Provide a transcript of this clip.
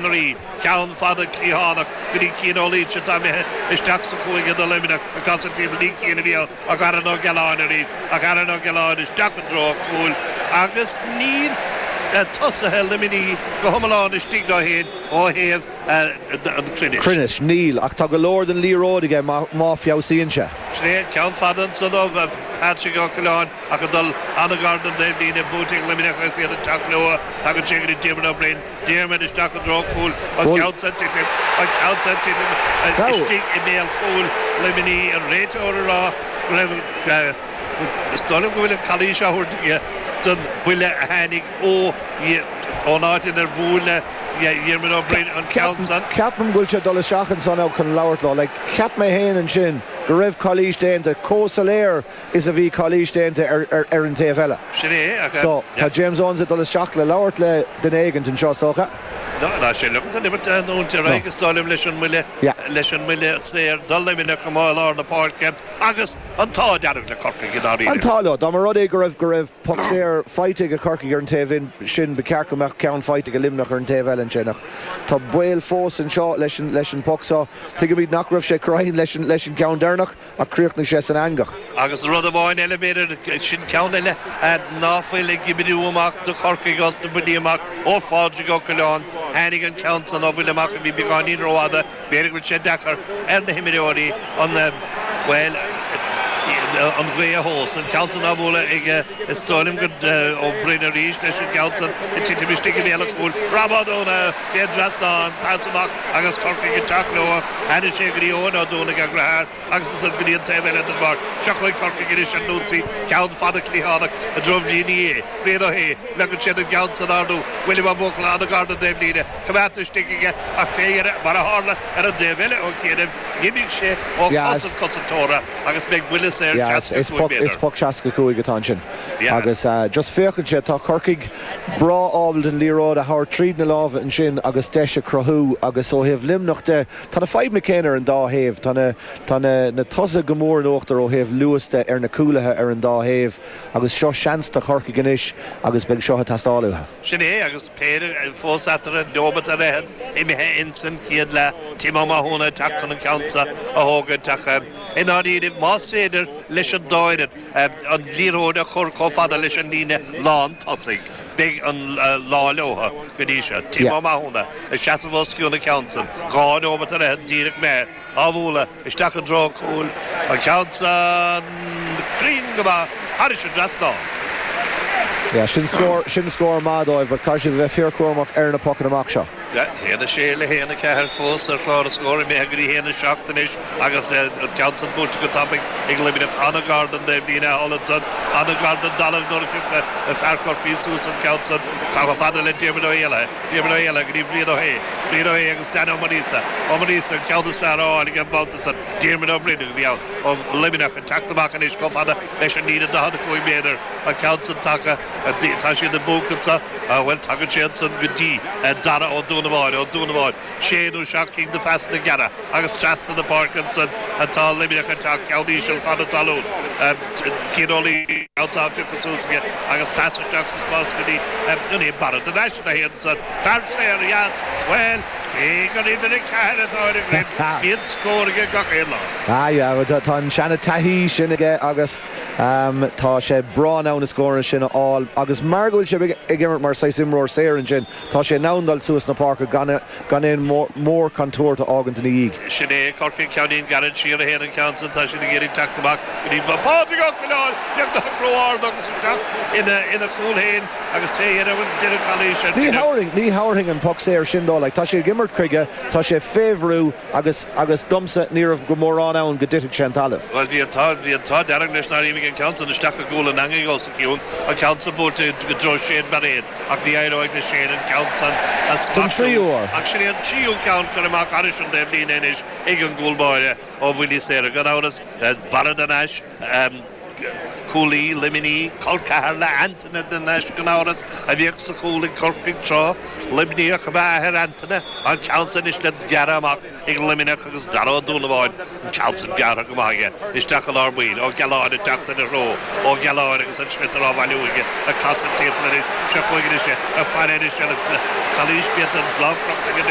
an Rí. Ceann fada cliathánach go dtí Cian Ó Laoise atá imithe isteach sa chúige do Luimneach ag casadh timpeall. Ní Cian a bhí ann ach Aaron Ó Gealáin arís ach Aaron Ó Gealáin isteach i dtreo an chúil agus níl tosaithe Luimnigh go hiomlán istigh leo féin ó thaobh an chruinnis. Cruinnis, níl, ach tá go leor den liathróid aige má feabhsaíonn sé. Sin é, ceann fada ansan ó Patrick Ó Coileáin ach ag dul an-ghar don taobhlíne, buaite ag Luimneach agus iad ag teacht leo. Tagann sé go dtí Diarmuid Ó Broin. Diarmuid isteach i dtreo an chúil, an ceann san ag titim, an ceann san ag titim istigh i mbéal chúil Luimnigh, an réiteoir ag rá go raibh, is dóigh liom go bhfuil an calaois á thabhairt aige don bhuille a tháinig ó, ón áit inar bhuail le Diarmuid Ó Broin an ceann san. Ceapaim go bhfuil sé ag dul isteach ansan chun labhairt leo. Like, cheap mé féin ansin go raibh calaois déanta chomh soiléir is a bhí calaois déanta ar an taobh eile. Sin é, ach. So, tá James Owens ag dul isteach le labhairt le duine éigint anseo, is dócha. No, tá sé leagtha an imirt a leanúint ar aghaidh, is dóigh liom, leis an mbuille, leis an mbuille saor do Luimneach amuigh i lár na páirce agus an t-ádh dearg le Corcaigh i ndáiríre. An t-ádh leo. Dá mba rud é go raibh, go raibh poc saor faighte ag Corcaigh ar an taobh sin, ba cheart go mbeadh ceann faighte ag Luimneach ar an taobh eile ansin. Ach tá baol fós anseo leis an, leis an bpoc seo. Tuigimid nach raibh sé cruinn leis an, leis an gceann deireanach. Ach chríochnaigh sé san eangach. Agus rud amháin eile, b'fhéidir, sin ceann eile ná fuil ag oibriú amach do Chorcaigh os na buillí amach ó Phádraig Ó Coileáin. Tháinig an ceann san ó bhuille amach a bhí beagáinín rófhada. B'fhéidir go bhfuil sé deacair ar na himreoirí an, bhuel, an ghaoth a thomhas. An ceann san á bhualadh ag, is dóigh liom gur Ó Broin arís leis an gceann san ag titim istigh i mbéal an chúil. Rob Ó Dúna fén dtrasnán, pas amach agus Corcaigh ag teacht leo. Tháinig sé go dtí Eoin Ó Dúnaigh a dheartháir agus ansan go dtí an taobh eile den bpáirc. Seo chugainn Corcaigh anois ar an ionsaí. Ceann fada cliathánach i dtreo Bhriain Uí Aodha. Brian Ó hAodha. Leagann siad an ceann san ardú. William Ó Buachalla an-ghar don taobhlíne. Coimeádta istigh aige ach fé dheireadh, mar a tharla ar an dtaobh eile ó chianaibh, d'imigh sé ó chos an chosantóra agus beidh buille saor 65 méadar. Is poc 65 atá ansin agus just féachann sé, tá Corcaigh breá ábalta an liathróid a thabhairt tríd na lámha ansin agus deis a chruthú agus ó thaobh Luimneach de, tá na fadhbanna céanna ar an dá thaobh. Tá na, tá na, na tosaithe go mór in uachtar ó thaobh luas de ar na cúlaithe ar an dá thaobh agus seo seans do Chorcaigh anois agus beidh seo ag teastáil uathu. Sin é agus péire fós eatarthu, neomat ar fhichead imithe insan chéad leath, Tim Ó Mathúna ag teacht chun an ceann seo a thógaint ach i ndáiríribh más féidir leis an dá fhoireann an liathróid a chur chomh fada leis an líne lán tosaigh, beidh an lá leo go dtí seo. Tim Ó Mathúna ag seasamh os cionn an ceann san, 2 neomat ar fhichead díreach imithe, á bhualadh isteach i dtreo an chúil, an ceann san cruinn go maith thairis an dtrasnán. Yeah, sin scór, sin scór maith dóibh, but caithfidh siad a bheith fíorchúramach ar na pocanna amach seo. 1, 6 le 1, 4 fós ar chlár na scór, imithe go dtí 1, 7 anois agus an ceann san buailte go tapaidh ag Luimneach. An-ghar don dtaobhlíne thall ansan, an-ghar don dtalamh nuair a phioc fear Chorcaí suas an ceann san. Chomh fada le Diarmuid Ó hÉallaithe, Diarmuid Ó hÉallaithe go dtí Brian Ó hAodha, Brian Ó hAodha agus Dan Ó Maonaosa, Ó Maonaosa an ceann is fearr á fháil aige an babhta san. Diarmuid Ó Broin a bhí ann ó Luimneach ag teacht amach anois chomh fada leis an líne 45 méadar, an ceann san tagtha. Tá siad i bponc anso. Bhuel, tagann sé ansan go dtí Dara Ó Dúnabháin, Ó Dúnabháin, sé nó seacht gcinn de phasanna gearra agus trasna na páirce ansan atá Luimneach ag teacht, ceann íseal fada talún. Cian Ó Laoi anso á phiocadh suas aige agus pas isteach sa spás go dtí an é Barra de Naise a théann ansan. Fear saor dheas, bhuel, cé gur uimhir 4 atá ar a dhroim, bíonn scór aige gach aon lá. Ah yeah, tá an seana taithí sin aige agus. Tá sé breá in ann na scóranna sin a fháil agus mar go bhfuil sé ag imirt mar saghas imreoir saor ansin, tá sé in ann dul suas na páirce gan gan aon mhórchontúirt a fhágaint ina dhiaidh. Sin é, Corcaigh, ceainnín gairid siar a théann an ceann san, tá siad ag iarraidh teacht amach go dtí Pádraig Ó Coileáin, beagnach ró-ard agus isteach ina ina chúl féin agus fé dheireadh bhfuil deireadh calaois ar Ní thabharfainn, ní thabharfainn an poc saor sin dó, like, tá sé ag imirt chuige, tá sé fé bhrú, Agus, agus domsa, ní raibh go mórán ann go dtitfeadh sé an talamh. Bhuel, bhí an t-ádh, bhí an t-ádh dearg leis nár imigh an ceann san isteach i gcúl an eangaigh os a chionn, an ceann san buailte i dtreo Shane Bairéad, ach ní éireoidh le Shane an ceann san a Don smachtú. tríú huair. Ach sin é an tríú ceann curtha amach thairis an dtaobhlíne anois ag an gcúl báire ó bhuillí saora. Gan amhras, Barra de Nais, cúlaí Luimnigh, col ceathar le Antaine de Nais gan amhras, a bhíodh sa chúl ag Corcaigh tráth. Luimníoch ab ea athair Antaine, an ceann san anois le gearradh amach ag Luimneach agus Dara Ó Dúnabháin, an ceann san gearrtha go maith aige isteach i lár baill. Ó Gealáin ag teacht ina threo. Ó Gealáin agus an sliotar á bhailiú aige ag casadh timpeall anois. Seo chugainn anois é, ag faire anois ar an chalaois déanta, an lámh crochta aige.